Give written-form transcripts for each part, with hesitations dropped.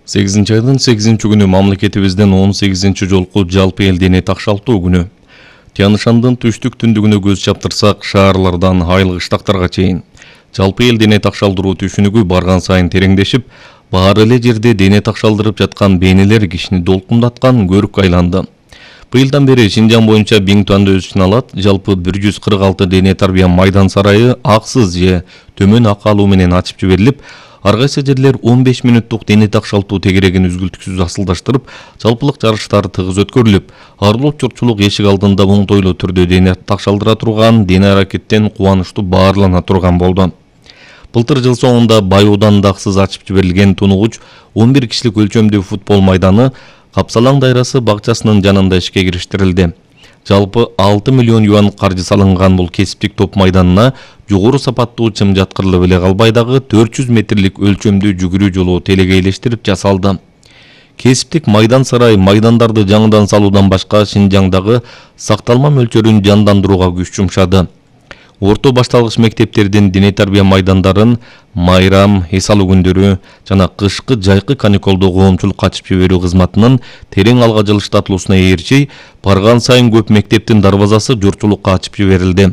8-айдын 8-күнү мамлекетибиздин 18 жолку жалпы эл дене такшалтуу күнү. Тянь-Шандын түштүк-түндүгүнө көз чаптырсак, шаарлардан айыл кыштактарга чейин жалпы эл дене такшалдыруу түшүнүгү барган сайын тереңдешип, баары эле жерде дене такшалдырып жаткан бейнелер кишини долкундаткан көрүккө айланды. Быйылдан бери Шинжаң боюнча Биңтуанда өз ичине алат. Жалпы 146 дене тарбия майдан сарайы аксыз же төмөн акы алуу менен ачып жиберилип, ар кайсы жерлер 15 мүнөттүк дене такшалтуу тегерегин үзгүлтүксүз асылдаштырып, жалпылык жарыштар тыгыз өткөрүлүп, арылуу журтчулук эшик алдында оңтойлуу түрдө дене такшалдыра турган, дене аракеттен кубанычтуу баарлана турган болду. Былтыр жыл соңунда Байууданда аксыз ачып жиберилген тунугуч 11 кишилик өлчөмдүү футбол майданы Капсалаң дайрасы бакчасынын жанында ишке кириштирилди. Жалпы 6 миллион юан каржы салынган бул кесиптик топ майданына жогору сапаттуу чым жаткырылып эле калбай дагы 400 метрлик өлчөмдүү жүгүрүү жолу телегейлештирип жасалды. Кесиптик майдан сарай майдандарды жаңыдан салуудан башка Шинжаңдагы сакталма мөлчөрүн жандандырууга күч жумшады. Орто башталгыч мектептердин дене тарбия майдандарын майрам, эс алуу күндөрү жана кышкы жайкы каникулдуу коомчулук ачып жиберүү кызматынын терең алга жылыштатылуусуна ээрчи, барган сайын көп мектептин дарбазасы журтчулукка ачып жиберилди.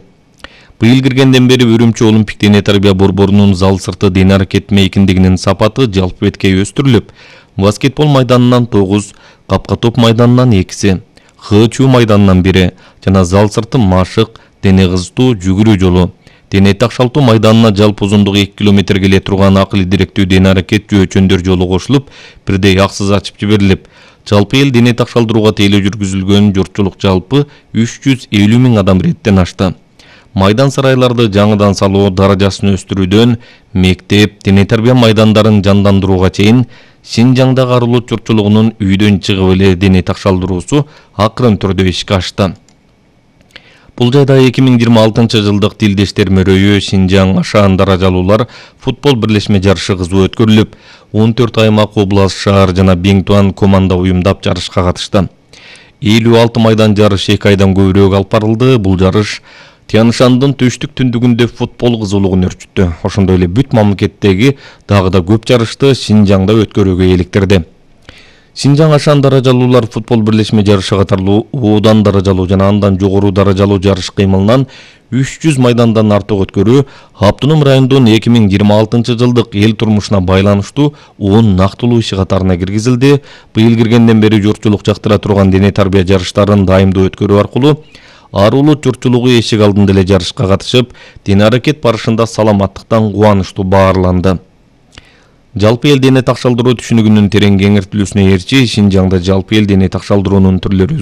Быйыл киргенден бери Үрүмчү Олимпик дене тарбия борборунун зал сырты дене аракет мейкиндигинин сапаты жалпы беткей өстүрүлүп, баскетбол майданынан 9, капка топ майданынан 2, ХЧУ майданынан 1 жана зал сырты машык, дене кызытуу жүгүрүү жолу, дене такшалтуу майданына жалпы узундугу 2 километр келе турган акыл идиректүү дене аракет жөөчөндөр жолу кошулуп, бирдей аксыз ачып жиберилип, жалпы эл дене такшалдырууга тейлөө жүргүзүлгөн журтчулук жалпы 350 000 адам реттен ашты. Майдан сарайларды жаңыдан салуу даражасын өстүрүүдөн мектеп, дене тарбия майдандарын жандандырууга чейин Шинжаңдагы арылуу журтчулугунун үйдөн чыгып эле дене такшалдыруусу акырын түрдө ишке ашты. Бул жайда 2026 жылдык тилдештер мөрөйү Шинжаң Ашаан даражалуулар футбол бирлешме жарышы кызуу өткөрүлүп, 14 аймак, област, шаар жана Биңтуан команда уюмдап жарышка катышты. 56 майдан жарышы 2 айдан көбүрөөк алып барылды. Бул жарыш Тянь-Шандын түштүк-түндүгүндө футбол кызуулугун өрчүттү. Ошондой эле бүт мамлекеттеги дагы да көп жарышты Шинжаңда өткөрүүгө электирди. Шинжаң Ашаан даражалуулар футбол бирлешме жарышы катарлуу Оодан даражалуу жана андан жогору даражалуу жарыш кыймылынан 300 майдандан артык өткөрүү Автоном районунун 2026 жылдык эл турмушуна байланыштуу 10 нактылуу иши катарына киргизилди. Быйыл киргенден бери журтчулук жактыра турган дене тарбия жарыштарын дайымдуу өткөрүү аркылуу арылуу журтчулугу эшик алдында эле жарышка катышып, дене аракет барышында саламаттыктан кубанычтуу баарланды. Жалпы эл дене такшалдыруу түшүнүгүнүн терең кеңиртилүүсүнө ээрчи Шинжаңда жалпы эл дене такшалдыруунун түрлөрү